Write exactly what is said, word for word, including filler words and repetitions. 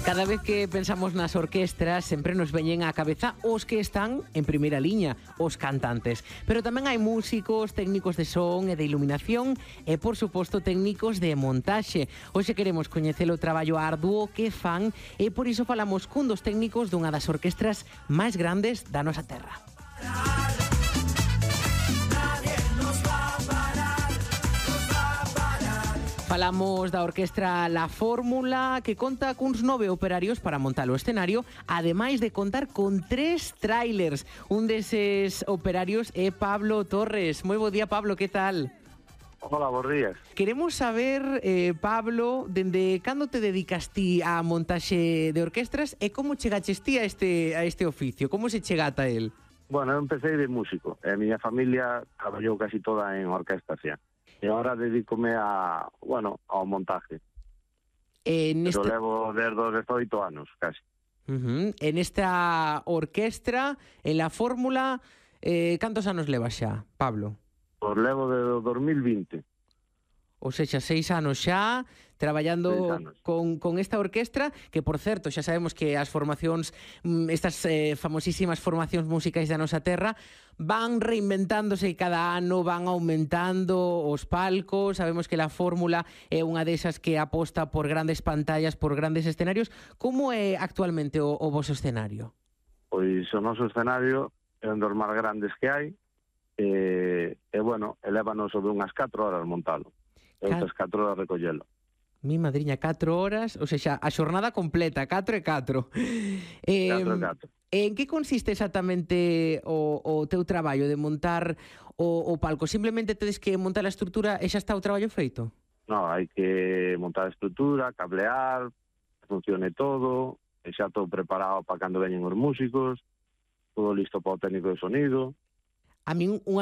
Cada vez que pensamos nas orquestras sempre nos veñen á cabeza os que están en primeira liña, os cantantes. Pero tamén hai músicos, técnicos de son e de iluminación e, por suposto, técnicos de montaxe. Hoxe queremos coñecer o traballo arduo que fan e por iso falamos cun dos técnicos dunha das orquestras máis grandes da nosa terra. Falamos da orquestra La Fórmula, que conta cuns nove operarios para montar o escenario, ademais de contar con tres trailers. Un deses operarios é Pablo Torres. Moi bo día, Pablo, que tal? Hola, bons días. Queremos saber, eh, Pablo, dende cando te dedicas ti á montaxe de orquestras e como chegaches ti a este, a este oficio? Como se chega ata el? Bueno, eu empecé de músico. E a miña familia traballou casi toda en orquestas xa. E agora dedícome a, bueno, ao montaje. En esta... Pero levo desde os dezoito anos, casi. Uh-huh. En esta orquestra, en La Fórmula, eh, cantos anos levas xa, Pablo? Pois levo de dos mil vinte. Ou sexa, seis anos xa traballando con, con esta orquestra, que, por certo, xa sabemos que as formacións, estas eh, famosísimas formacións musicais da nosa terra, van reinventándose cada ano, van aumentando os palcos. Sabemos que La Fórmula é unha desas que aposta por grandes pantallas, por grandes escenarios. Como é actualmente o, o vosso escenario? Pois o noso escenario é un dos máis grandes que hai, e, e bueno, elévanos sobre unhas catro horas montalo. E outras catro horas recollelo. Mi madriña, catro horas, ou seja, a xornada completa, catro e catro. Eh, catro e catro. En que consiste exactamente o, o teu traballo de montar o, o palco? Simplemente tedes que montar a estrutura e xa está o traballo feito? No, hai que montar a estrutura, cablear, que funcione todo, e xa todo preparado para cando veñen os músicos, todo listo para o técnico de sonido. A min unha